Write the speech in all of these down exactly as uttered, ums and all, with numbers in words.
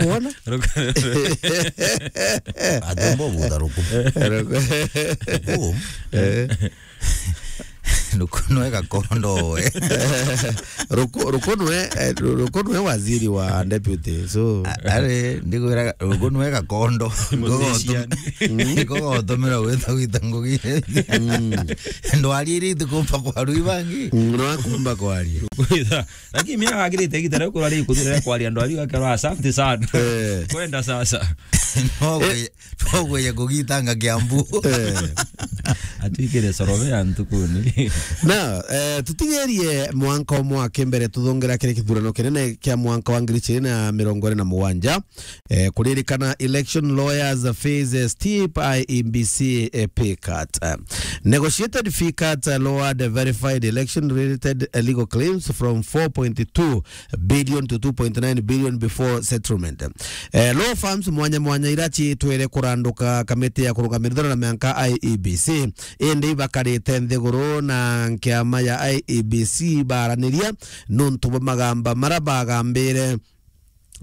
Rukuona? Ruku- Atumbo butha ruku. Ruku- Ruku. Eh. Ruku nwe gakondo we. Ruku, Ruku nwe, eh, Ruku nwe waziri wa deputy. So, a-, are, ndikwira Ruku nwe gakondo. Musician. Ngogotomera witha gwita ngugi. Mm. Ndwari iri itikumba kwaria bangi. Mm, no akumba kwaria. Lakini mimi agirite igita riu kurari kuthira kwaria andu ariu akerwa asante sana. Eh. Kwenda sasa. No gwe-, no gwe ya kugitanga Kiambu. Eh. Atwikire sorove ya ntukuni. Na, eh, tutigerie mwanka umwe wa kimbere tuthongera kiri kithurano kinene kia mwanka wa ngiri igiri na mirongo iri na mugwanja. Eh, kuririkana election lawyers face a steep I E B C, eh, pay cut. Eh, negotiated fee cut, eh, lowered verified election related, eh, legal claims from four point two billion to two point nine billion before settlement. Eh, law firms mwanya mwanya ira ciitwire kuranduka kamiti ya kurugamira ithurano na mianka I E B C, indi ibakarite nthiguru na nkiama ya I E B C baraniria nuntu bwa magamba mara bagambire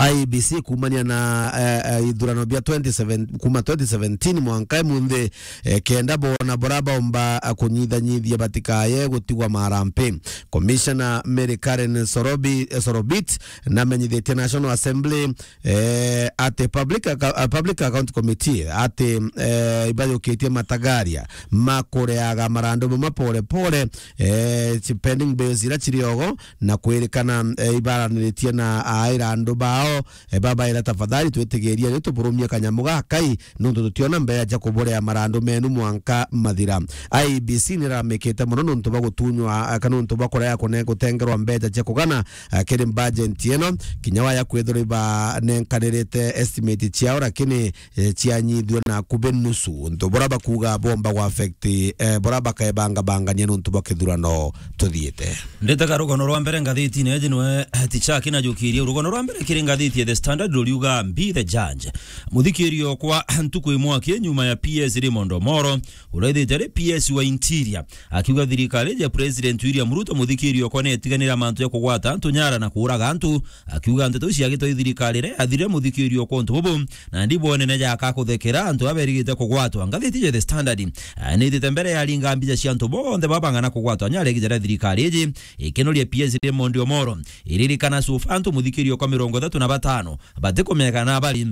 I E B C kumania na, eh, eh, ithurano bia twenty seven, kuma twenty seventeen mwanka imunthi, eh, kenda bona bora baumba, eh, kunyithanyithia batikaye gutigwa marampi. Commissioner Mary Karen Sorobi, eh, Sorobit namenyithitie National Assembly, eh, ati Public Acca-, eh, Public Account Committee ati, eh, ibayukitie matagaria makureaga marandu mama pole pole, eh, ci pending bills ira ciriogo, na kwirikana, eh, ibaraniritie na aira andu bao, eh, babaira, "Tafadhali twitigirie ni tuburumie kanyamu gakai, nuntu tutiona mbeca cia kuburea marandu menu mwanka mathira." I E B C niramikite mono nuntu bwa gutunywa, eh, kana nuntu bwa kurega kune-, gutengerwa mbeca cia kugana, eh, kiri budget ino, kinya waya kwithirwa ibanenkanirite estimate ciao, lakini eh, cianyithua na akubi nusu. Untu bura bakuga bomba gwa affect, eh, bura bakebangabangania nuntu bwa kithurano tuthiite. Ndetaga rugono rwa mbere ngathitine iji nwe, eh, Tichaki na jukiria. Rugono rwa mbere kiri ngathiti ya The Standard ruriuga, "Be the judge." Muthikirio kwa ntuku imwe aki nyuma ya P S Raymond Omoro, uria ithite ari P S wa Interior, akiuga thirikari ya President William Ruto muthikirio kwa netiganira mantu ya kugwata antu nyara na kuuraga antu, akiuga nteto iu ciagitwe i thirikari iria yathirire muthikirio kwa untu bubu, na ndi bwone ne jaka kuthekera antu aberigite kugwatwa. Ngathiti ya The Standard, ah, nitite mbere ya ringa mbica cia antu bonthe babang'ana kugwatwa nyara igita ria thirikari iji, ikinoria P S Raymond Omoro. Iririkana so far antu muthikirio kwa mirongo ithatu na batano batikumenya kana bari.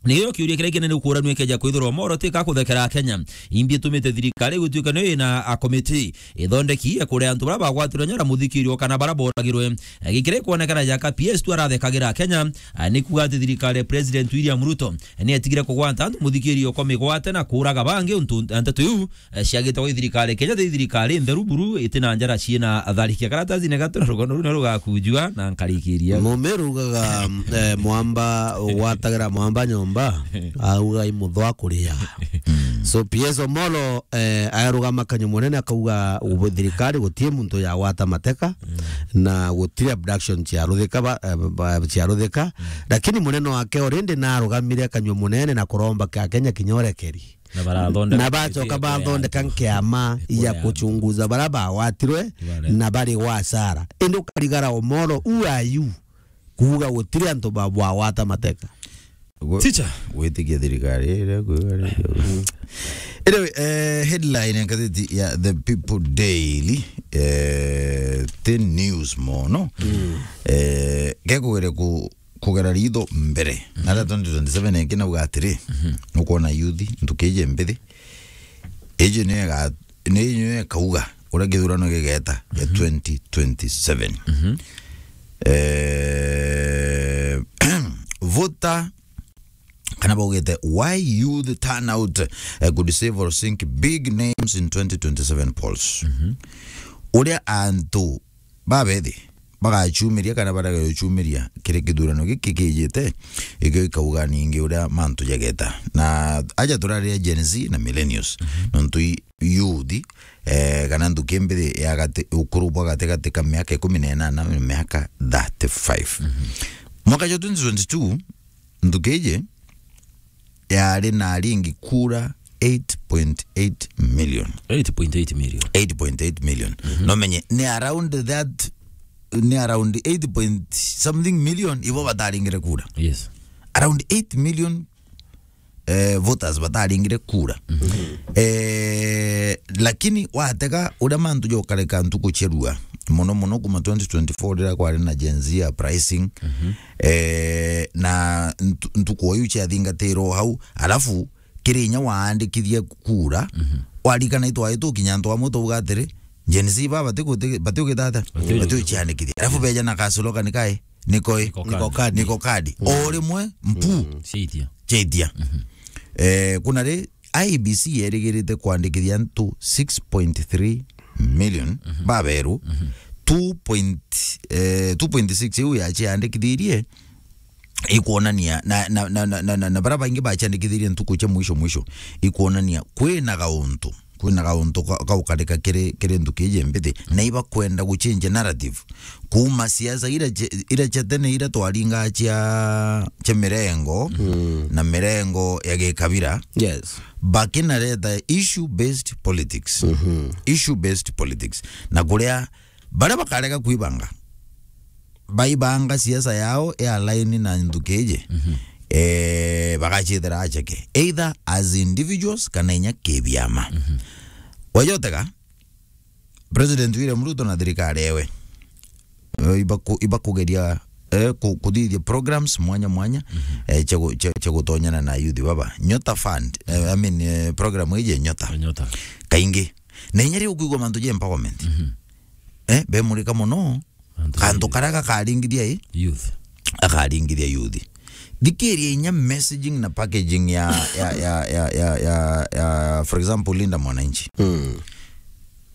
Niyo kiuria kiria kinene ukuranua ikeja kwithirwa Omoro tika kuthekera Kenya. Imbi itumite thirikari gutuika niyo ina a committee ithondeki ya kuria antu bara bagwatirwe nyara muthikirio kana bara boragirwe. Gikira ikwonekana jaka P S tu arathekagira Kenya, a, ni kuga ati thirikari ya President William Ruto ni etigire kugwata antu muthikirio kwa migwate na kuuraga bangi untu nteto iu, eh, ciagitagwa i thirikari Kenya ti thirikari ntheru buru, iti na njara ciina atharikia karatasi na gatu na rugono runa rugakujua na nkarikiria. Mumiru ugaga, eh, mwamba ugwatagira mwamba nyomba, auga i muthwa kuria. So P S Omolo, eh, arugama kanyua munene akauga ubu thirikari gutie muntu yagwata mateka na gutire abduction cia ruthika ba, eh, ba, cia ruthika. Lakini munene wake already narugamire kanyua munene na kuromba kia Kenya kinya urekeri. Na barathondeka Na bacoka bathondeka nkiama ya kuchunguza bara bagwatirwe na bari gwa hasara. Indi ukarigara Omolo, who are you? Kuuga gutiri antu ba-, bagwata mateka. Gwe-, Teacher. Gwitikia thirikari iria kwiga riri. Anyway, eh, headline ya ngathiti ya The People Daily, eh, ti news mono. Eh, gekugere ku kugera ritho mbere. Na ria twenty twenty-seven ingi nauga atiri, nukwona youth, ntuki iji mbithi, iji niyo iga-, niyo ikauga uria githurano gigeta gia twenty twenty-seven. Eh, voter, kana baugite, "Why youth turnout, eh, could save or sink big names in twenty twenty-seven polls." Uria antu babethi bagachumiria kana barega guchumiria kiri kithurano giki kijite, ikio ikauga ningi uria mantu jageta. Na aja turaria Gen Z na millennials, nontu i youth, eh, kana nthuki mbithi ya gati, ukuru bwa gatigati ka miaka ikumi na inana na miaka thirty-five. Mwaka jwa twenty twenty-two, nthuki iji yari na aringi kura eight point eight million. Eight point eight million. Eight point eight million. No menye, ni around that, ni around eight point something million ibo bataringire kura. Yes. around eight million, eh, voters bataringire kura. Eh, lakini watega uria mantu jokareka ntuku cia rua, mono mono kuma twenty twenty-four riria kwari na Gen Z uprising, eh, na ntu-, ntuku o iu ciathingatirwo hau, alafu kiri inya waandikithie kura, warikana itwai tukinya antu amwe twauga atiri, Gen Z ba bati guti-, bati ugita atia? Bati ugita. Bati uciandikithia. Alafu beja na ka slogan kai, "Niko i? Niko kadi." Niko kadi. O rimwe, mpu. Ciaitia. Ciaitia. Eh, kuna ri, I E B C yerigirite kwandikithia antu six point three million baberu, two point, eh, two point six iu yaciandikithirie, ikwonania na, na, na baria baingi baciandikithirie ntuku cia mwisho mwisho, ikwonania kwina gauntu, kwina gauntu ka-, gaukarika kiri, kiri nthuki iji mbithi, na ibakwenda guchange narrative kuma siasa ira cia, ira cia tene ira twaringaa cia, cia mirengo na mirengo ya gikabira. Yes. Bakinareta issue based politics. Issue based politics. Na kuria baria bakarega kwibanga, baibanga siasa yao ya line na nthuki iji, eh, bagacithira acheke, either as individuals kana inya kibiama. Wajotega, President William Ruto na thirikari ewe, eh, ibaku-, ibakugeria, eh, ku-, kuthithia programs mwanya mwanya, eh, cia gu-, cia, cia gutonyana na youth baba. Nyota Fund, eh, I mean, eh, program iji Nyota. Nyota. Kaingi. Na inya riu kwigua mantu ja empowerment. Eh, bemurika mono. Antu kantu karia gakaringithia i? Youth. Akaringithia youth. Thikiria inya messaging na packaging ya, ya, ya, ya, ya, ya, ya, for example, Linda Mwananchi.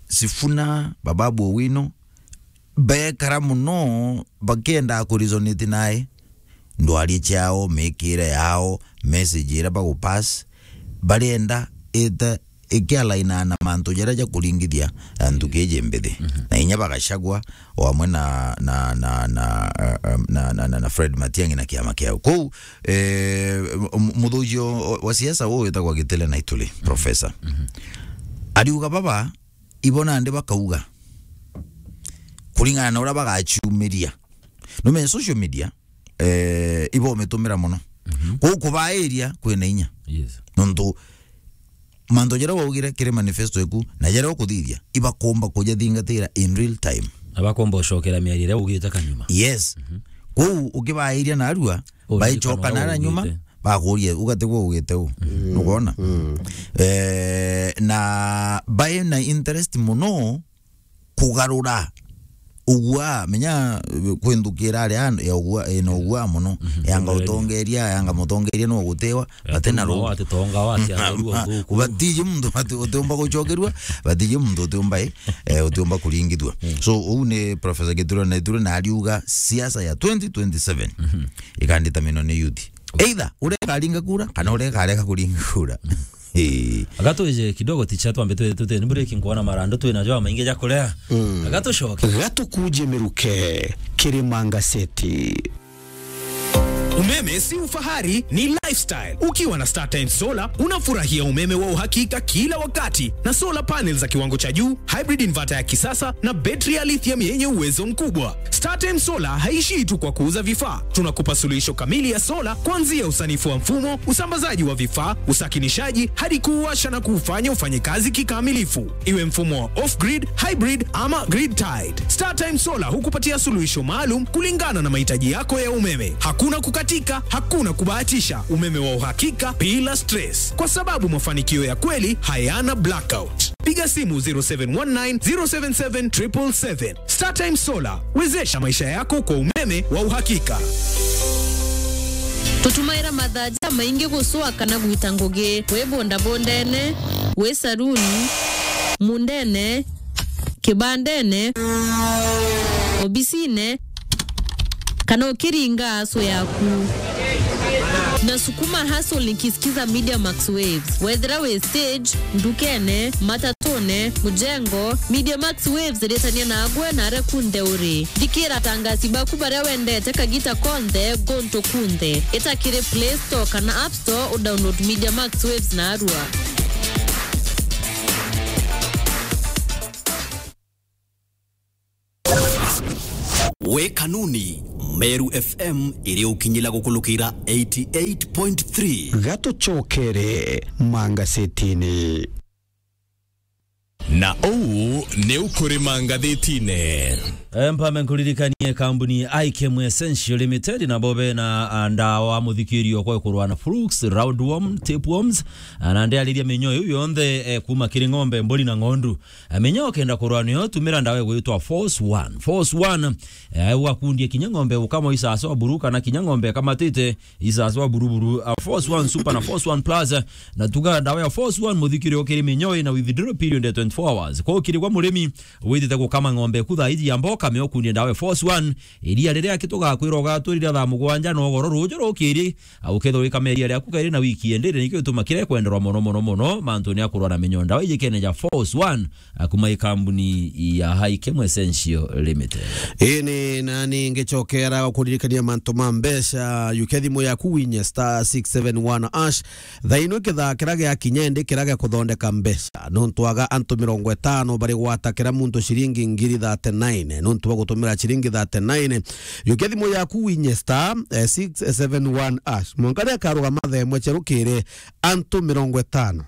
Sifuna, Bababu Owino, bekara mono bakienda kuresonate nae. Ndwari ciao, mikire yao, message iria bagupass, barienda ita ikialainaa na mantu jaria jakuringithia, eh, nthuki iji mbithi. Na inya bagacagua o amwe na, na, na, na, eh, eh, na, na, na, na Fred Matiang'i na kiama kiao. Kou, eh, m-, m-, muthuji o-, wa siasa uu witagwa Gitile Naituli, professor. Ariuga baba, ibo nandi bakauga, kuringana na uria bagaciumiria. Nume social media, eh, ibo umitumira mono. Kou kubairia kwina inya. Yes. Nontu mantu jaria waugire kiri manifesto eku, na jaria ukuthithia, ibakomba kujathingatira in real time. Na bakomba ucokera miario iria ugite kanyuma. Yes. Kou ukibairia narua, baicoka nara nyuma, bakuria, ugatigwo ugite u. Nukwona? Eh, na bai na interest mono kugarura ugua, menya, eh, kwi nthuki irari ya ugua, ina ugua mono, yanga utongeria, yanga mutongeria no gutiwa, bati na ru. Ati tonga wati agarua uthuku. Batiji muntu ati utiumba gucokerua, batiji muntu utiumba, eh, eh, utiumba kuringithua. So, uu ni Professor Gituro na Ituro na ariuga siasa ya twenty twenty-seven ikanditaminwa ni youth. Either uria ikaringa kura, kana uria ikarega kuringa kura. Ii. Aga twije kidogo ticha twambe twe-, tute-, ni break nkuona marandu twina jo maingi ja kurea. Aga tucoke. Gatukuje miruke, Kirima Ngaseti. Umeme si ufahari, ni lifestyle. Ukiwa na StarTimes Solar, unafurahia umeme wa uhakika kila wakati na solar panels za kiwango cha juu, hybrid inverter ya kisasa na betri ya lithium yenye uwezo mkubwa. StarTimes Solar haishii tu kwa kuuza vifaa. Tunakupa suluhisho kamili ya sola, kuanzia usanifu wa mfumo, usambazaji wa vifaa, usakinishaji, hadi kuuwasha na kuufanya ufanye kazi kikamilifu. Iwe mfumo wa off-grid, hybrid ama grid-tied, StarTimes Solar hukupatia suluhisho maalum kulingana na mahitaji yako ya umeme. Hakuna kukatika, hakuna kubahatisha, umeme wa uhakika bila stress, kwa sababu mafanikio ya kweli hayana blackout. Piga simu zero seven one nine, zero seven seven, triple seven. StarTimes Solar, wezesha maisha yako kwa umeme wa uhakika. Tutumaira mathaa jamaingi gucua kana gwita ngugi, wi bondabondene, wi saruni, mundene, kibandene, obisine, kana ukiringa aso yaku. Nasukuma hustle nikisikiza Media Max Waves. Wethira wi stage, ndukene, matatune, mujengo, Media Max Waves iritania nagwe na aria kunthe uri. Thikira atangasi baku baria wendete kagita konthe, guntu kunthe. Ita kiri Play Store kana App Store, udownload Media Max Waves narua. We kanuni, Meru F M iri ukinyila gukulukira eighty eight point three. Gatucokere mangasetini. Na uu ni ukuri mangathitine. Eh, mpame nkuririkanie kambuni Ikem Essential Limited, nabo bena, ah, ndawa muthikirio kwa kurwa na flukes, roundworm, tapeworms, ah, na ndiariria minyoo iu yonthe, eh, kuma kiri ng'ombe, mburi na ng'ondu. Eh, minyoo ukenda kurwa niyo, tumira ndawa igwitwa Force One. Force One, eh, ugakundie kinya ng'ombe ukama isasa wa buru kana kinya ng'ombe ikamatite isasa wa buruburu, ah, Force One Super na Force One Plus, eh, na tuga ndawa ya Force One muthikiri ukiri minyoo ina withdrawal period ya twenty-four hours. Kwa ukiri gwa murimi witite gukama ng'ombe ku thaa iji ya mboka, me ukundie ndawa ya Force One, iria riria kitugakwira ugaturira thaa mugwanja na ugoro ruju rukiri, ah, ukethirwa wikama iria riaku kairi na wiki endere, nikio gituma kiria kwenderwa mono, mono, mono, mantu ni akurwa na minyoo. Ndawa iji kene ja Force One, ah, kuma i kambuni ya High Kemu Essential Limited. Ini nani ngicokera kuririkania mantu ma mbeca, yukia thimu yaku winye star six seven one hash. Thaino kithaa kiria giakinya indi kiria gia kuthondeka mbeca. Nontu aga antu mirongo itano bari gwata kira muntu ciringi ngiri thirty-nine. Nontu bwa gutumira ciringi thirty-nine, yukia thimu yaku winye star, eh, six seven one hash. Mwanka riakarugama thaa imwe cia rukiri, antu mirongo itano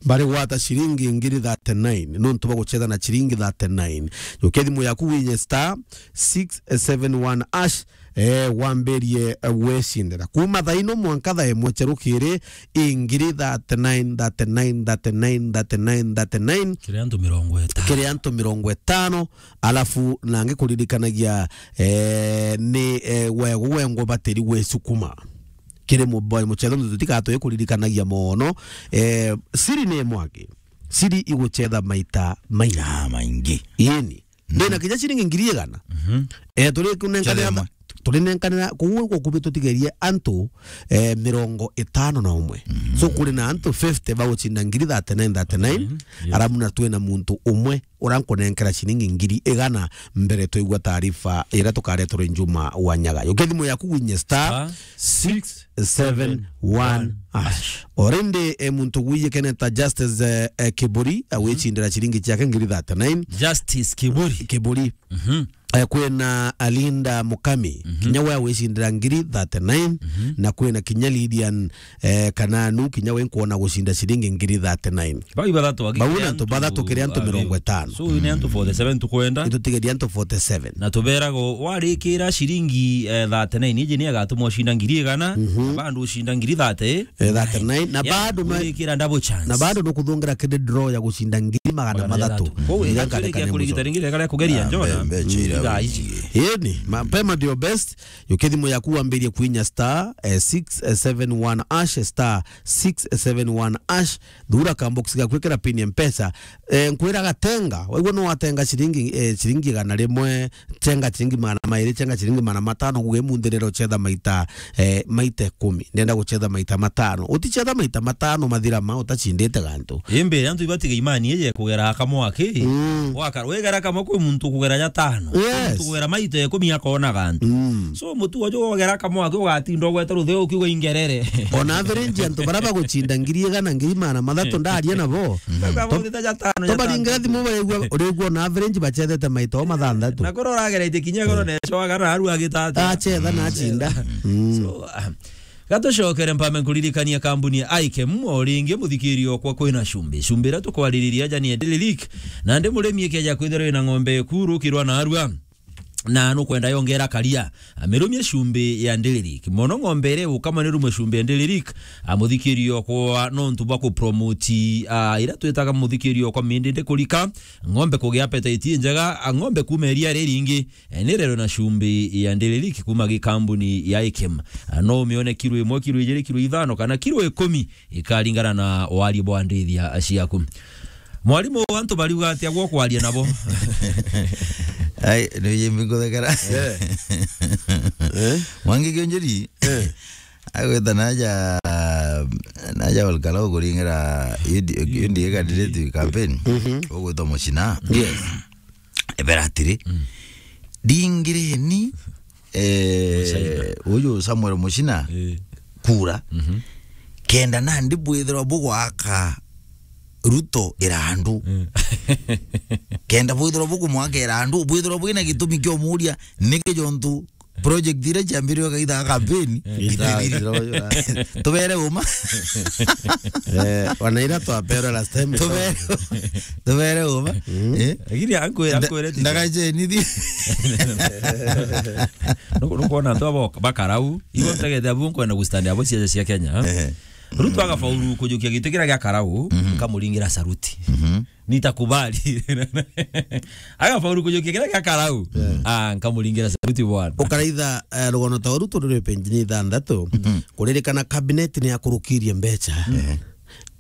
bari gwata ciringi ngiri thirty-nine, nontu bwa gucetha na ciringi thirty-nine. Yukia thimu yaku winye star six seven one hash, eh, wambirie, eh, gwicindira. Kuma thaa ino mwanka thaa imwe cia rukiri, i ngiri thirty-nine, thirty-nine, thirty-nine, thirty-nine, thirty-nine. Kiri antu mirongo itano. Kiri antu mirongo itano, alafu nangi kuririkanagia, eh, ni, eh, wego wengwa batiri gwicukuma. Kiri muboy muchetho, ndu tutigatoe kuririkanagia mono. Eh, siri ni mwangi. Siri iguchetha maita maingi. Ah, maingi. Yeni. Mhm. Ndina kinya ciringi ngiri igana. Mhm. Eh, turi kunenkanira Chadema. Turi nenkanira, kuu gukubi tutigerie antu, eh, mirongo itano na umwe. Mhm. So, kuri na antu fifty baguchinda ngiri thirty-nine, thirty-nine, mhm, yes, arabu na twina muntu umwe uria nkunenkera ciringi ngiri igana mbere twaigua taarifa iria tukareterwa i Juma wa Nyaga. Yukia thimu yaku winye star, star six seven one hash. Already, eh, muntu gwiye keneta Justice, eh, eh, Kiburi, eh, mhm, wicindira ciringi ciake ngiri thirty-nine. Justice Kiburi. Kiburi. Mhm. Eh, kwina Alinda Mukami, mhm, kinya we wicindira ngiri thirty-nine, mhm, na kwina kinya Lydian, eh, Kananu, kinya we nkwona gucinda ciringi ngiri thirty-nine. Bau ibathatu agi. Bau ni antu bathatu kiri antu mirongo itano. So, ni antu forty-seven tukwenda. Itutigeria antu forty-seven. Na tuberago warikira ciringi, eh, thirty-nine, iji ni agatumwa ucinda ngiri igana, mhm, na bandu ucinda ngiri thirty. Eh, thirty-nine. Na bado no, wikira double chance. Na bado no kuthungira kiri draw ya gucinda ngiri magana mathatu. Magana mathatu. Kou iria nkareka nikuria. Ringi reka kugeria njona. Mbe-, mbecha ira thaa ici. Yeni, mapema ndio best. Yukia thimu yaku wambirie kwinya star, eh, six seven one hash, star six seven one hash. Thura ka box gakwikira pin ya Mpesa. Eh, nkwira gatenga. Waigua no watenga ciringi, eh, ciringi igana rimwe, chenga ciringi magana mairi, chenga ciringi magana matano, guge munthirira uchetha maita, eh, maita ikumi. Ndenda guchetha maita matano. Utichetha maita matano mathira ma utachindite gantu. Imbe, antu ibatiga imani ije kugera kamwe aki. Mm. Waka-, wegera kamwe kwi muntu kugera jatano. Yes. Muntu kugera maita ikumi akona gantu. Mm. So, mutu uju wogera kamwe aki ugatinda ugweta rutheu ukiuga ingerere. On average, antu bara baguchinda ngiri igana, ngiri magana mathatu ndaria nabo. Mm. Baba, to-, tobaringira thimu baigua, urigua on average bachethete maita o mathanthatu. Na koro urageretie kinya koro neco agara aru agitata. Achetha na achinda. Mm. So, ah, gatucokere mpame nkuririkania kambuni ya Ikem, o ringi muthikirio kwa kwina cumbi. Cumbi iria tukwaririria aja ni Endelelik. Na ndi murimi ikeja kwithirwa ina ng'ombe kuru kirwa na arua. Na nukwenda yongera karia. Amirumie cumbi ya Ndilirik. Mono ng'ombe iria igukamwa ni rumwe cumbi ya Ndilirik. Amuthikirio kwa nontu bwa kupromoti, ah, iria twitaga muthikirio kwa mindindi kurika. Ng'ombe kugia appetite njega, a ng'ombe kuma iria riringi. Eh, ni rero na cumbi ya Ndilirik kuma gikambuni ya Ikem. Ah, no umione kiro imwe, kiro ijiri, kiro ithano, kana kiro ikumi. Ikaringana na warie bwa ndithia ciaku. Mwarimu, antu bariuga atia gwo kwaria nabo? Ai, ni yimbi nguthekera. Eh. Eh? Mwangi Kionjeri. Eh. Agweta naja, naja Olkalo kuringira indi, indi candidate campaign. Mhm. Ugwetwa Muchina. Yes. Ebera atiri, mm, ndingireni, eh, Muchina. Uyu Samuel Muchina, eh, kura. Mhm. Kenda nandi bwithirwa bugwaka Ruto irandu. Mm. Kenda bwithirwa bukumwaka irandu, bwithirwa bwina gitumi kiomuria, niki jontu project iria ciambiriwe kaita ga campaign, eh, itathirire. Tubere uma. Eh, wana ira twaperwe last time. Tubere, tubere uma. Mm. Eh? Lakini ankwira, nda-, ankwira ti ndagacenithie. Nuku-, nukwona antu abo bakarau, ibo ntegete abu nkwenda gustand abo ciaca cia Kenya, eh? Eh. Ruto agafaulu kujukia giti kiria gia Karau, mhm, nkamuringira saruti. Mhm. Nitakubali. Agafaulu kujukia kiria gia Karau. Yeah. Ah, nkamuringira saruti bwana. Ukaraitha, eh, rugono ta Ruto ruri penjini ithanthatu, mhm, kuririkana cabinet ni yakurukirie mbecha. Mhm.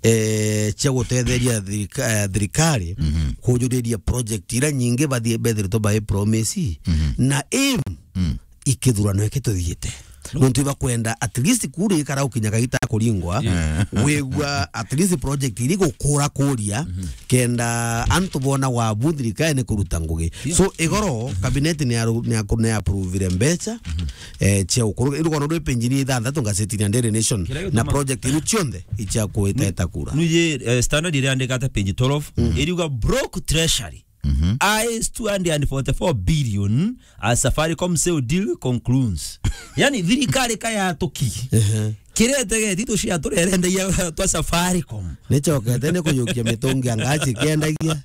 Eh, cia gutetheria thirika-, eh, thirikari, mhm, kujuriria project ira nyingi bathie bethiritwe bai promise, mhm, na aim, mm, ikithurano iki tuthiite. Nontu ibakwenda at least kura ikara ukinya kagita kuringwa, yeah, wigua at least project iri gukura kuria, mhm, kenda antu bona wabu thirikari ni kuruta ngugi. Yeah. So, igoro, mhm, cabinet ni aru-, ni aku-, ni approvire mbecha, mhm, eh, cia ukuru. Rugono rwi penjini ithanthatu ngazetini ya Daily Nation, na project iru cionthe icia kuiteta kura. Nuye, eh, Standard iriandika ata page twelve, mhm, iriuga broke treasury. Mhm. Eyes two hundred and forty-four billion as Safaricom sale deal concludes. Yani, thirikari ka yatuki. Ehe. Kiria itegeti tucia turia irendagia twa Safaricom. Nicokete ni kuyukia mitungi ya ngasi kiendagia.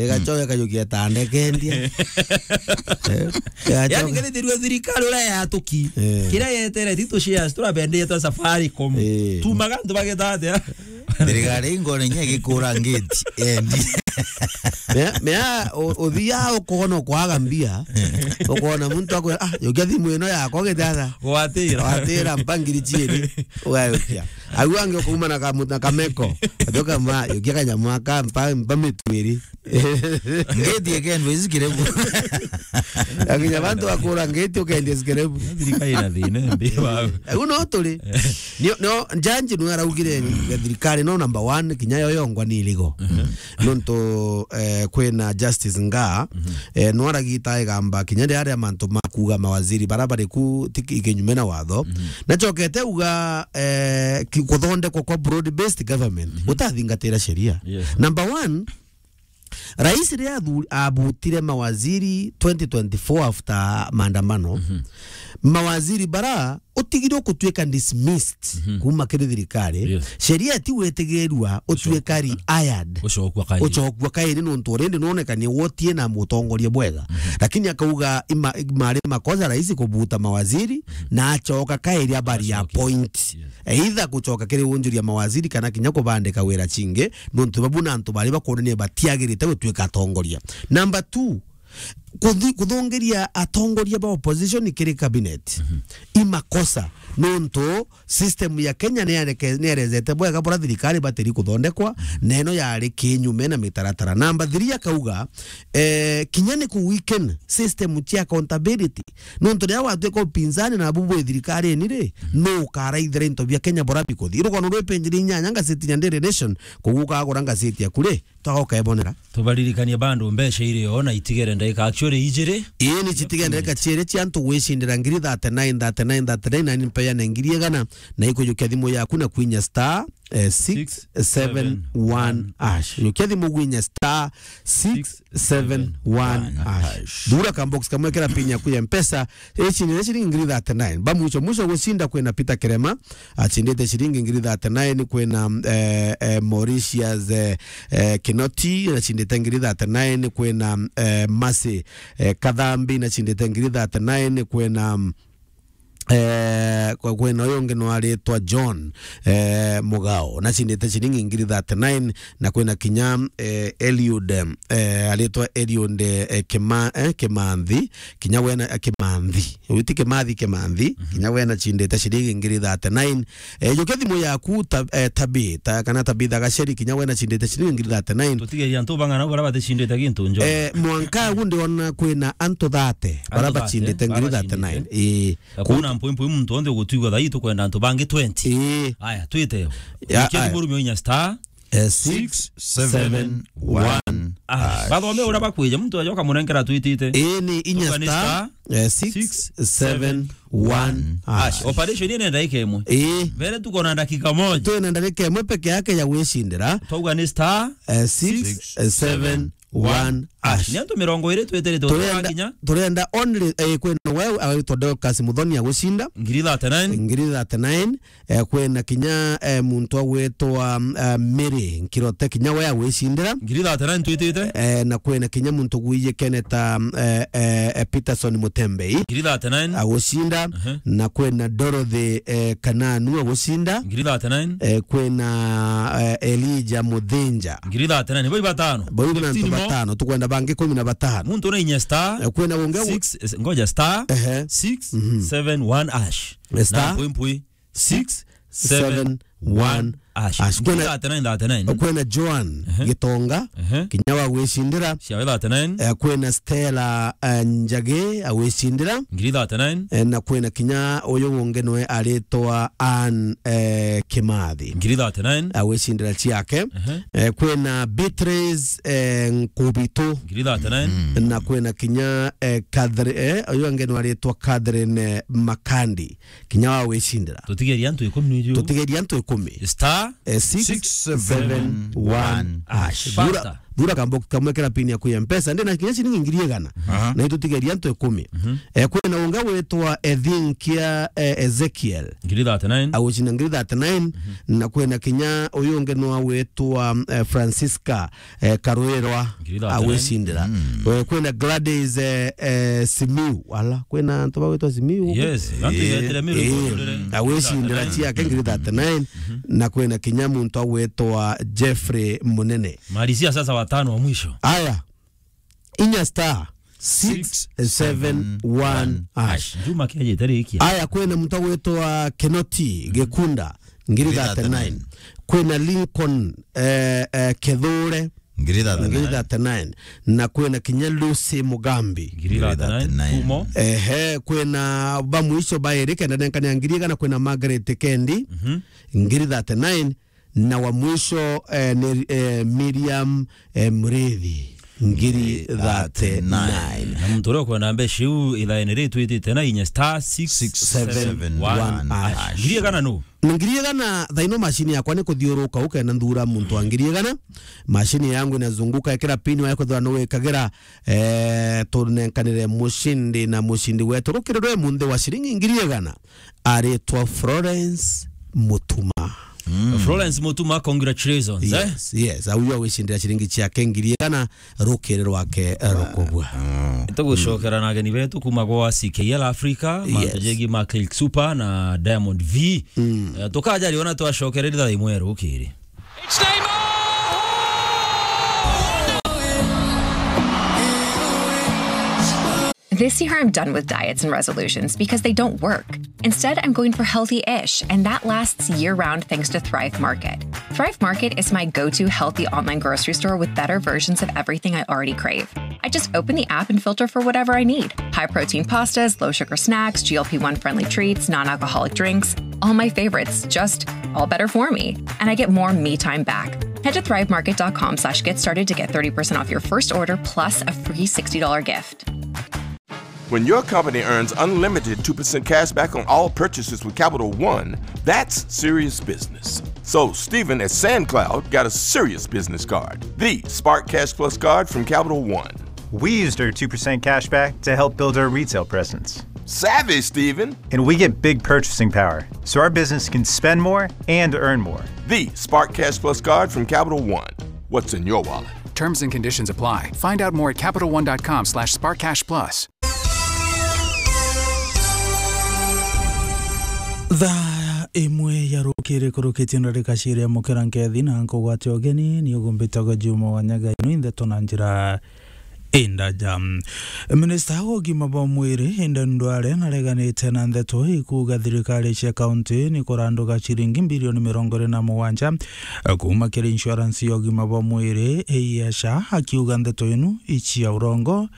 Igacoka ikayukia tande kendia. Eh, igacoka. Yani, kethirwe thirikari uria yatuki. Eh. Kiria yetereti tucia turabendeia twa Safaricom. Eh. Tumaga antu bageta atia? Thirikari ingone nya gikura ngeti, endi. Mea, mea, u-, uthia ukona kwaga mbia, ukona muntu akwira, "Ah, yukia thimu ino yakwa githatha." Gwatira. Gwatira mpangiri chieri, ugayukia. Au angi ukauma na kamu-, na kameko, ajoka ma, yukia kanyamu aka, mpa, mpa mitwiri. Ngeti ekendwa ici kirebu. Akinya bantu bakura ngeti ukendia ici kirebu. Thirikari ina thina mbi bau. Au no turi. Nio, nio, Njanji nwe araugire thirikari no number one, kinya yo yongwa ni iligo. Mhm. Nontu, eh, kwina Justice Ngaa, mhm, eh, nwe aragita igamba kinya riria mantu makuga mawaziri bara bari ku ti ki-, kinyume na watho. Mhm. Nacokete uga, eh, ki-, kuthondekwa kwa broad based government, mhm, gutathingatira sheria. Yes. Number one, Rais riria athu-, abutire mawaziri twenty twenty-four after maandamano, mhm, mawaziri bara utigire gutuika dismissed, mhm, kuma kiri thirikari. Yes. Sheria ti witigirua utuika rehired. Ucokua kairi. Ucokua kairi nontu already nonekanie wotie na mutongoria bwega. Mhm. Lakini akauga ima-, mari makosa rais kubuta mawaziri, mhm, na acoka kairi abari ya point. Yes. Either gucoka kiri unjuria mawaziri kana kinya kubandika wira chingi, nontu babu na antu bari bakwonania batiagirite gutuika atongoria. Number two, kuthi-, kuthungiria atongoria ba opposition kiri cabinet. Mhm. I makosa, nontu system ya Kenya ni yareke-, ni yarezete bwega bura thirikari batiri kuthondekwa, mhm, na ino yari kinyume na mitaratara. Number three akauga, eh, kinya ni ku weaken system cia accountability. Nontu riria watuika upinzani na bubu bwi thirikari ini ri, mhm, nu ukaraithira into bia Kenya bura bikuthi? Rugono rwi penjini inyanya ngazetini ya Daily Nation, koguo ukagura ngazeti yaku ri, twagoka ebonera. Tubaririkanie bado mbeca iri o na itigere ndagika actually ijiri. Ii ni citigere ndagika ciiri cia antu gwicindira ngiri thirty-nine, thirty-nine, thirty-nine, na ni mpeane ngiri igana, na ikujukia thimu yaku na kwinya star, eh, six seven one hash. Jukia thimu gwinya star six seven one hash. Thura ka box kamwe kira pin yaku ya Mpesa, icindire ciringi ngiri thirty-nine. Ba mwisho mwisho gucinda kwina Peter Kirema, acindite ciringi ngiri thirty-nine, kwina, eh, eh, Mauritius, eh, eh, Kinoti, acindite ngiri thirty-nine, kwina, eh, Mercy, eh, Kathambi, acindite ngiri thirty-nine, kwina, eh, kwe-, kwina uyu ungi nwaritwa John, eh, Mugao, nacindite ciringi ngiri thirty-nine, na kwina kinya, eh, Eliud, eh, aritwa Eliud, eh, Kima-, eh, Kimanthi, kinya wena, eh, Kimanthi. Uyu ti Kimathi, Kimanthi, mhm, kinya wena cindite ciringi ngiri thirty-nine. Eh, jukia thimu yaku ta-, eh, Tabi-, ta-, kana Tabitha Gaceri, kinya wena cindite ciringi ngiri thirty-nine. Tutigeria antu bang'ana bara baticindite gintu njo. Eh, mwanka agu ndiona kwina antu thirty, bara bacindite ngiri thirty-nine. Ii. Ku- kuna mpwempwe muntu onthe ugutwigua thaa ii tukwenda antu bangi twenty. Ii. Aya, twite yo. Ya, jukia thimu aya. Rumio inya star eh, six seven one. Ah, bathome uria bakwija, muntu ajoka munenkera twitite. Ii ni inya star, eh, six seven one hash. Operation ii ni ndagika imwe. Ii. Mbere tuko na ndagika moja. Twina ndagika imwe peke yake ya gwicindira. Twauga ni star, eh, six seven one hash. Ni antu mirongo iri twitire. Turenda, turenda only, eh, kwina wewe awitwa Dorcas Muthoni agucinda. Ngiri thirty-nine. Ngiri thirty-nine. Eh, kwina kinya, eh, muntu agwitwa, eh, Mary Nkirote, kinya we agwicindira. Ngiri thirty-nine twitite. Eh, na kwina kinya muntu gwije keneta, eh, eh, eh, Peterson Mutembei. Ngiri thirty-nine. Agucinda. Ehe. Na kwina Dorothy, eh, Kananu agucinda. Ngiri thirty-nine. Eh, kwina, eh, Elijah Muthinja. Ngiri thirty-nine. Boi batano. Boi na antu batano. Tukwenda bangi kumi na batano. Muntu na inya star. Eh, kwina ungi six, eh, ngoja star. Ehe. Six seven one hash. Star. Na mpwi mpwi. Six seven one hash. Hash. Kwina thirty-nine, thirty-nine. Kwina Joan Gitonga, kinya wa gwicindira. Ciawe thirty-nine. Eh, kwina Stella, eh, Njagi, agwicindira. Ngiri thirty-nine. Eh, na kwina kinya uyu ungi nwe aritwa Ann, eh, Kimathi. Ngiri thirty-nine. Agwicindira ciake. Eh, kwina Beatrice, eh, Nkubitu. Ngiri thirty-nine. Na kwina kinya, eh, Catherine, eh, uyu ungi nwe aritwa Catherine, eh, Makandi. Kinya wa gwicindira. Tutigeria antu ikumi niju. Tutigeria antu ikumi. Star, eh, six seven one hash. Thura, thura kambox kamwe kera pin yaku ya Mpesa. Ndina kinya ciringi ngiri igana. Aha. Na itutigeria antu ikumi. Eh, kwina ungi witwa Ethinkia, eh, Ezekiel. Ngiri thirty-nine. Agucinda ngiri thirty-nine. Na kwina kinya uyu ungi nwa witwa, eh, Francisca eh, Karwirwa. Ngiri thirty-nine. Agwicindira. Eh, kwina Gladys, eh, eh, Simiu. Ala, kwina antu bagwitwa Simiu guku? Yes, antu igetire Meru. Eh, igotore. Agwicindira ciake ngiri thirty-nine. Na kwina kinya muntu agwitwa Jeffrey Munene. Marisia sasa watano wa mwisho. Aya. Inya star six seven one hash. Juma kia jete rikia. Aya, kwina muntu agwitwa Kinoti Gikunda, ngiri thirty-nine. Kwina Lincoln, eh, eh, Kithure, ngiri thirty-nine. Na kwina kinya Lucy Mugambi. Ngiri thirty-nine. Kumo. Ehe, kwina ba mwisho bairi kenda nenkania ngiri igana, kwina Margaret Kendi, ngiri thirty-nine. Na wa mwisho, eh, ni, eh, Miriam, eh, Murithi, ngiri thirty-nine. Na muntu uria ukwenda mbeca iu, ithaene ri twitite na inya star six seven one hash. Ngiri igana nu? Na ngiri igana thaino mashini yakwa ni kuthiuruka ukenda nthura muntu wa ngiri igana. Mashini yangu inazunguka, ikira pin wayo kwithirwa ni wikagira, eh, tunenkanire mushindi na mushindi wetu. Rukiri rwe munthi wa shiringi ngiri igana. Aritwa Florence Mutuma. Florence Mutuma, congratulations, eh? Yes, yes. Au yo agwicindira ciringi ciake ngiri igana rukiri rwake, eh, rukubwa. Tugucokera na ageni betu kuma gwa C K L Africa, mantu jegi ma Click Super na Diamond V. Eh, tukaja riona twacokereria thaa imwe rukiri. It's Neymar! This year, I'm done with diets and resolutions because they don't work. Instead, I'm going for healthy-ish, and that lasts year-round thanks to Thrive Market. Thrive Market is my go-to healthy online grocery store with better versions of everything I already crave. I just open the app and filter for whatever I need. High-protein pastas, low-sugar snacks, G L P one friendly treats, non-alcoholic drinks, all my favorites, just all better for me. And I get more me time back. Head to thrive market dot com slash get started to get thirty percent off your first order plus a free sixty dollar gift. When your company earns unlimited two percent cash back on all purchases with Capital One, that's serious business. So, Stephen at SandCloud got a serious business card, the Spark Cash Plus card from Capital One. We used our two percent cash back to help build our retail presence. Savvy, Stephen. And we get big purchasing power, so our business can spend more and earn more. The Spark Cash Plus card from Capital One. What's in your wallet? Terms and conditions apply. Find out more at capital one dot com slash spark cash plus. Thaa imwe ya rukiri kurukitie ndarika ciiri ya mukira nkethi na nkugwate ugeni, ni ugumbitagwa Juma wa Nyaga, ino indeto na njira indaja. Minista wa ugima bwa mwiri, Aden Duale, nareganite na ndeto ikuuga thirikari cia kaunti ni kuranduga ciringi bilioni mirongo iri na mugwanja kuuma kiri insurance ya ugima bwa mwiri, ya SHA, akiuga ndeto inu icia urongo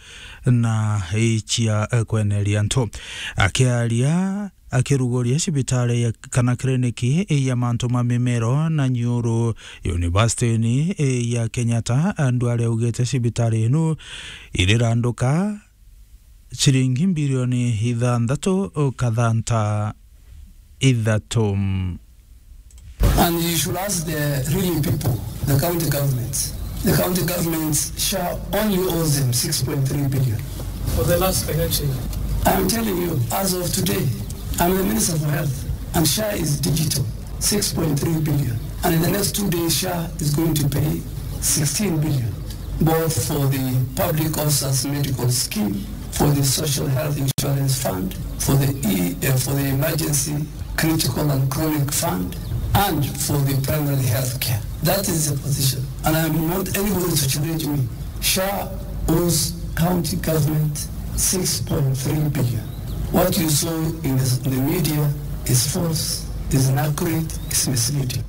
na icia, eh, kweneria antu. Akiaria akiruguria cibitari ya, kana kliniki ya mantu ma mimero na nyuru University-ini ya Kenyatta, Duale augite cibitari inu iriranduka ciringi mbirioni ithanthatu kathanta ithatu. And you should ask the real people, the county governments. The county governments, SHA only owes them six point three billion. For the last financial year. I'm telling you, as of today, I'm the Minister for Health, and SHA is digital, six point three billion. And in the next two days, SHA is going to pay sixteen billion, both for the public officers medical scheme, for the social health insurance fund, for the e, uh, for the emergency critical and chronic fund, and for the primary health care. That is the position. And I'm not anybody to challenge me. SHA owes county government six point three billion. What you saw in the, the media is false, is inaccurate, is misleading.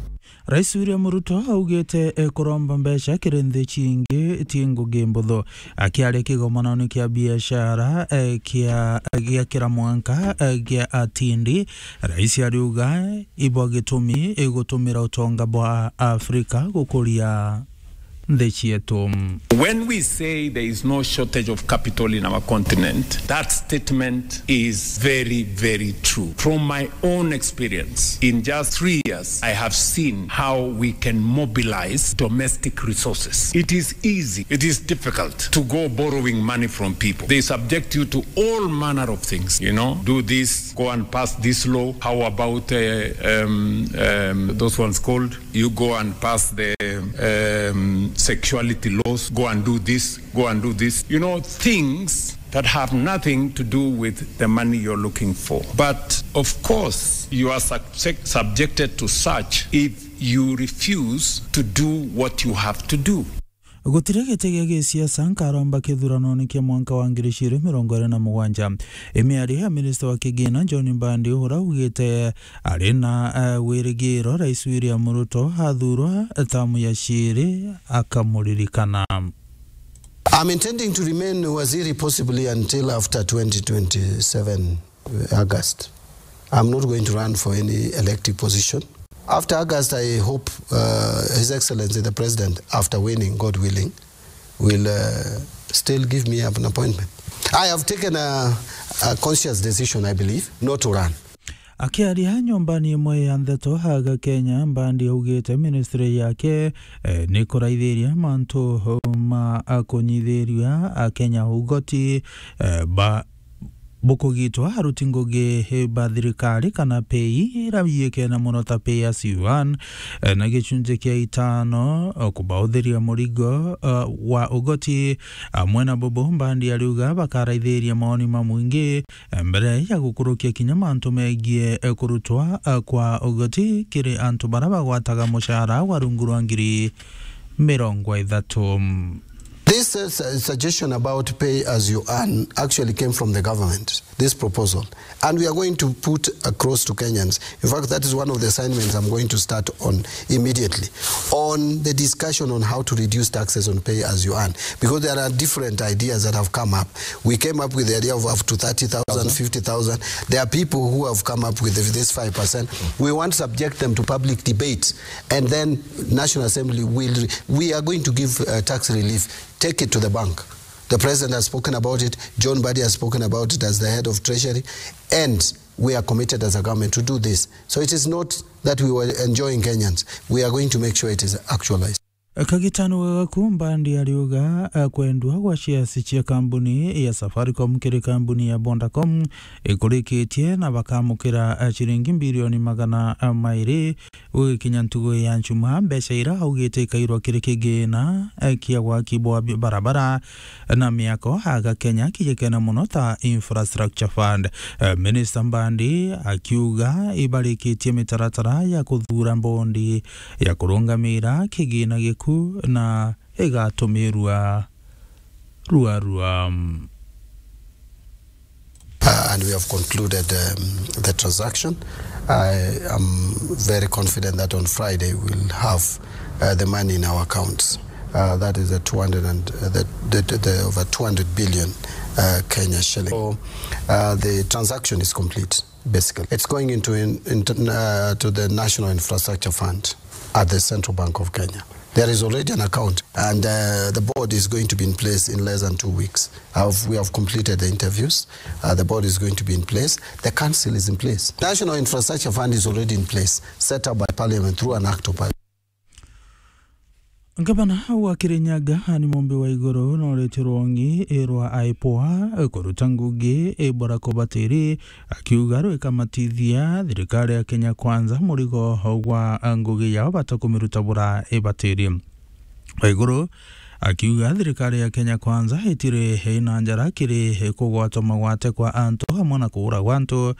Rais William Ruto augite ekuromba mbeca kiri nthi cingi ti ngugi mbuthu. Akiaria kigomanoni kia biashara, eh, kia, gia kira mwanka, eh, gia atindi, rais ariuga ibo gitumi igutumira utonga bwa Afrika gukuria nthi cietu. When we say there is no shortage of capital in our continent, that statement is very, very true. From my own experience, in just three years, I have seen how we can mobilize domestic resources. It is easy, it is difficult to go borrowing money from people. They subject you to all manner of things, you know, do this, go and pass this law. How about, uh, um, um, those ones called? You go and pass the, um, sexuality laws, go and do this, go and do this. You know, things that have nothing to do with the money you're looking for. But of course, you are subject-, subjected to such if you refuse to do what you have to do. Gutiri giti gia gisiasa nkaromba kithuranone kia mwanka wa ngiri ciiri mirongo iri na mugwanja. Imiario ya minista wa kigina John Mbadi, ura augite ari na, eh, wirigiro Rais William Ruto athurwa tamu ya ciiri, akamuririkana. I'm intending to remain waziri possibly until after twenty twenty-seven August. I'm not going to run for any elective position. After August, I hope, uh, His Excellency the President, after winning, God willing, will, uh, still give me an appointment. I have taken a, a conscious decision, I believe, not to run. Akiaria nyombani imwe ya ndeto aga Kenya, Mbadi augite ministry yake, eh, ni kuraithiria mantu ma kunyithiria Akenya ugoti, eh, ba bukugitwa aruti ngugi ba thirikari kana pay ira yikene mono ta pay as you earn, eh, na gicunji kia itano, eh, kubauthiria murigo, eh, wa ugoti. Amwe na bubu, Mbadi ariuga bakaraithiria maoni ma mwingi, eh, mbere ya gukurukia kinya mantu megie, eh, kurutwa, eh, kwa ugoti kiri antu bara bagwataga mucara wa rungu rwa ngiri mirongo ithatu. This, uh, su-, suggestion about pay as you earn actually came from the government, this proposal. And we are going to put across to Kenyans. In fact, that is one of the assignments I'm going to start on immediately, on the discussion on how to reduce taxes on pay as you earn, because there are different ideas that have come up. We came up with the idea of up to thirty thousand, fifty thousand. There are people who have come up with this five percent. We want to subject them to public debate, and then National Assembly will, we are going to give, uh, tax relief. Take it to the bank. The president has spoken about it. John Mbadi has spoken about it as the head of treasury, and we are committed as a government to do this. So it is not that we were enjoying Kenyans. We are going to make sure it is actualized. Kagitano gagaku, Mbadi ariuga, eh, kwendwa gwa shares cia kambuni ya Safaricom kiri kambuni ya Vodacom ikurikitie na bakamukira, eh, ciringi mbirioni magana, eh, mairi. Gugikinya ntugu ya Njumaa, mbeca ira augite ikairwa kiri kigina, eh, kia gwaki bwa bi-, barabara na miako aga Kenya kijikene mono ta Infrastructure Fund. Eh, Minister Mbadi akiuga ibarikitie mitaratara ya kuthura bondi ya kurungamira kigina giku na igatumirwa rua rua. Uh, and we have concluded, um, the transaction. I am very confident that on Friday we'll have, uh, the money in our accounts. Uh, that is the two hundred and, uh, the, the, the, the over two hundred billion, uh, Kenya shilling. So, uh, the transaction is complete. Basically, it's going into in, into, uh, to the National Infrastructure Fund at the Central Bank of Kenya. There is already an account, and uh, the board is going to be in place in less than two weeks. Have, we have completed the interviews. Uh, the board is going to be in place. The council is in place. National Infrastructure Fund is already in place, set up by Parliament through an act of Parliament. Ngavana wa Kirinyaga, Anne Mumbi Waiguru, nooritue rwongi rwa IPOA kuruta ngugi ibora kubatiri, akiuga rwikamatithia thirikari ya Kenya Kwanza murigo gwa ngugi yao bata kumiruta bura ibatiri. Waiguru akiuga thirikari ya Kenya Kwanza itiri ina njara kiri kugwatwa magwate kwa antu amwe na kuura gwa antu,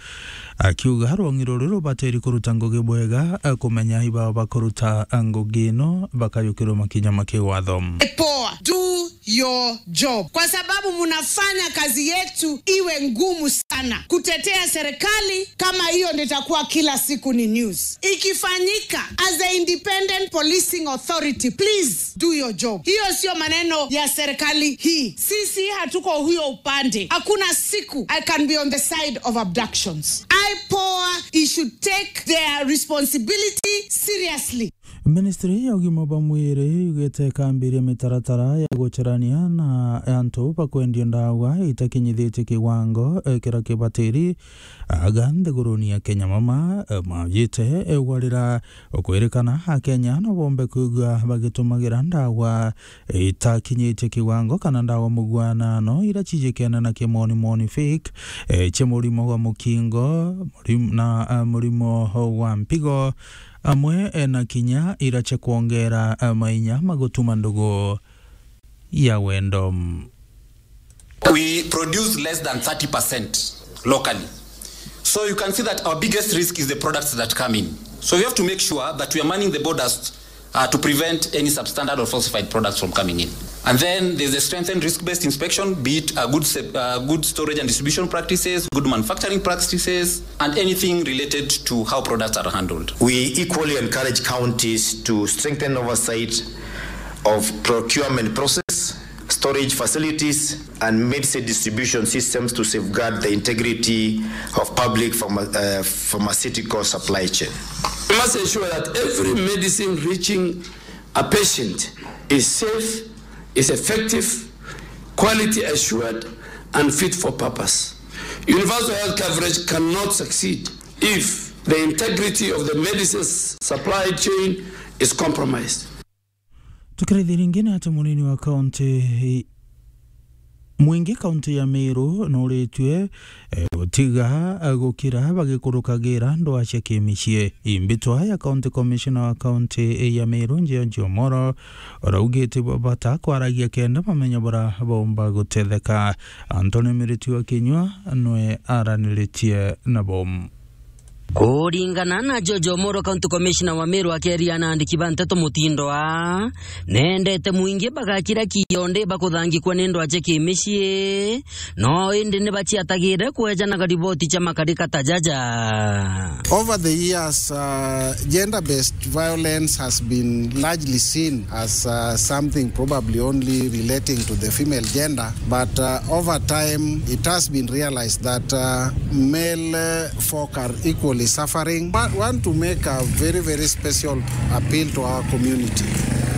akiuga rwongi ruru rubatiri kuruta ngugi bwega, kumenya ibao bakuruta ngugi ino bakayukirwa makinya ma kiwatho. IPOA, do your job, kwa sababu munafanya kazi yetu iwe ngumu sana kutetea serikali kama hiyo ndio itakuwa kila siku ni news. Ikifanyika as the independent policing authority, please do your job. Hiyo sio maneno ya serikali hii. Sisi hatuko huyo upande. Hakuna siku I can be on the side of abductions. IPOA, he should take their responsibility seriously. Ministry ya ugima bwa mwiri yugite ikambiria mitaratara ya gucarania na antu bakwendia ndawa itakinyithitie kiwango, eh, kiria kibatiri. Aga nthiguruni ya Kenya mama, eh, majite, eh, gwarira kwirikana Akenya no bombe kwigua bagitumagira ndawa itakinyitie kiwango kana ndawa mugwanano iria cijikene na kimoni moni fake, eh, cia murimo wa mukingo, murim-, na, eh, murimo wa mpigo, amwe, eh, na kinya iria cia kwongera, eh, mainya ma gutuma ndugu ya wendo. We produce less than thirty percent locally. So you can see that our biggest risk is the products that come in. So we have to make sure that we are manning the borders, uh, to prevent any substandard or falsified products from coming in. And then there's a strengthened risk-based inspection, be it a good se-, uh, good storage and distribution practices, good manufacturing practices, and anything related to how products are handled. We equally encourage counties to strengthen oversight of procurement process, storage facilities, and medicine distribution systems to safeguard the integrity of public pharma-, uh, pharmaceutical supply chain. We must ensure that every medicine reaching a patient is safe, is effective, quality assured, and fit for purpose. Universal health coverage cannot succeed if the integrity of the medicine supply chain is compromised. Tukiraithia ringi ni ati munini wa kaunti, mwingi kaunti ya Meru nuritue, eh, gutiga, eh, gukira bagikurukagira ndwaa cia kimicii. Imbitwa ya County Commissioner wa kaunti ya Meru, George Omoro, uraugite bata kwaragia kenda bamenya bura baumba gutetheka. Anthony Miritu wa Kinyua nwe araniritie nabo. Kuringana na George Omoro, County Commissioner wa Meru, akiaria na andiki ba nteto mutindo aa, nendete mwingi bagakira kionde bakuthangikwa ni ndwaa cia kimicii, no indi ni baciatagire kwejanaga riboti cia makarika ta jaja. Over the years, uh, gender-based violence has been largely seen as, uh, something probably only relating to the female gender, but, uh, over time it has been realized that, uh, male, uh, folk are equally suffering. Wa-, want to make a very, very special appeal to our community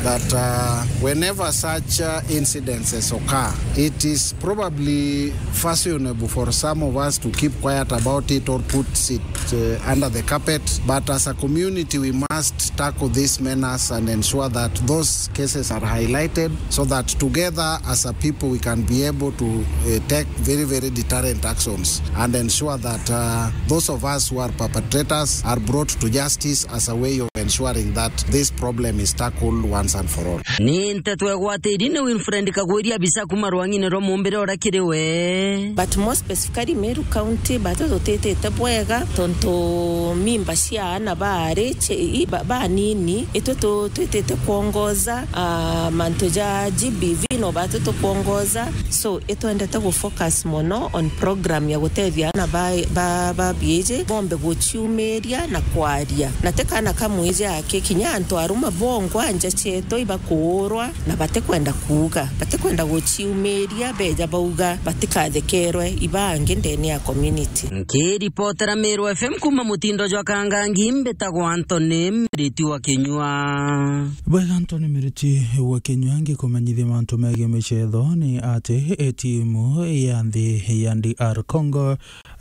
that, uh, whenever such, uh, incidences occur, it is probably fashionable for some of us to keep quiet about it or put it, uh, under the carpet. But as a community, we must tackle this menace and ensure that those cases are highlighted so that together as a people we can be able to, uh, take very, very deterrent actions and ensure that, uh, those of us who are perpetrators are brought to justice as a way of ensuring that this problem is tackled once and for all. Ni nteto egwatiri ni Winfred Kagwiri, abisa kuma rwang'ine rwa Mumbire uria kiri we. But more specifically, Meru County, batu tutitite bwega, tontu mimba cia aana baari ci-, i-, ba-, banini, itwe tu-, twitite kwongoza, ah, mantu ja G B V no batu tukwongoza. So, itwendete gu focus mono on program ya gutethia aana ba, ba, ba biiji bombe guciumiria na kwaria. Na ti kaana ka mwiji aki, kinya antu arume bongwa nja cietu. Toi bakuurwa na batikwenda kuuga, batikwenda guciumiria, beja bauga batikathekerwe ibangi ndene ya community. Nkiripotera Meru F M kuma mutindo jwa Kangangi, mbitagwa Anthony Miriti wa Kinyua. Bwega, Anthony Miriti wa Kinyua, ngikumenyithia mantu megie micetho ni ati, e, timu ya nthi ya D R Congo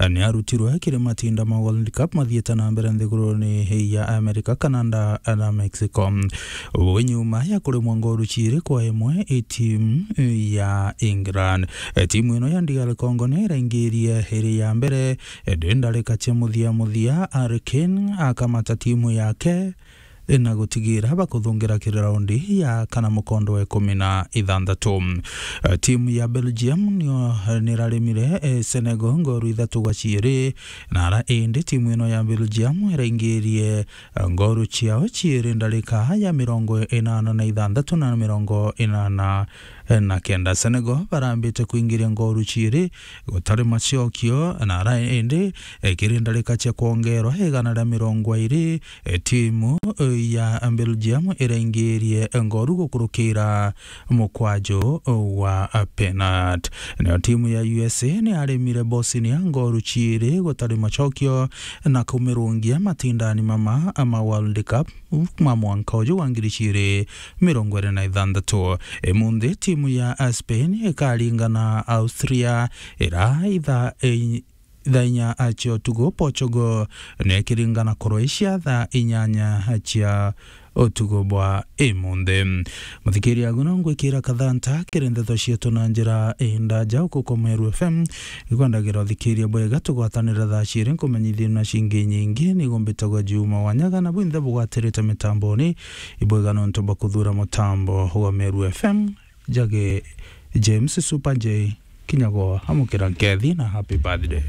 ni arutirwe kiri matinda ma World Cup mathiite na mbere nthiguruni ya America, Canada na Mexico. Uu nyuma ya kuremwa ngoru ciiri kwa imwe i timu ya England. E, timu ino ya D R Congo ni iraingirie iri ya mbere, e, ndi ndarika cia muthia muthia, Harry Kane akamata timu yake na gutigira bakuthungira kiri raundi ya kana mukondo wa ikumi na ithanthatu. Eh, timu ya Belgium nio, eh, niraremire, eh, Senegal ngoru ithatu gwa ciiri, na ara indi timu ino ya Belgium iraingirie, eh, ngoru ciao ciiri ndarika ya mirongo inana na ithanthatu na mirongo inana na kenda. Senegal barambite kuingiria ngoru ciiri gutari macokio, na ara indi, eh, kiri ndarika cia kwongerwa igana ria mirongo iiri, eh, timu, eh, ya Belgium iraingirie ngoru gukurukira mukwaju wa penat. Nayo timu ya U S A ni aremire Bosnia ngoru ciiri gutari macokio na kumirungia matindani mama ma World Cup ma mwanka uju wa ngiri ciiri mirongo iri na ithanthatu. Imunthi timu ya Spain ikaringa na Austria ira itha, i-, thaa inya cia utuku. Portugal ni ikiringa na Croatia thaa inyanya cia utuku bwa imunthi. Muthikiria, agu no ngwikira kathanta kiri ndeto cietu na njira indaja ukuko Meru F M. Ikwendagira uthikiria bwega, tugwatanira thaa ciiri nkumenyithie na cingi nyingi. Nigo mbitagwa Juma Wanyaga, na bwinthe bugwatirite mitamboni, ibwega nontu bwa kuthura mutambo wa Meru F M. Njage James Super J Kinyago, amukira nkethi na happy birthday.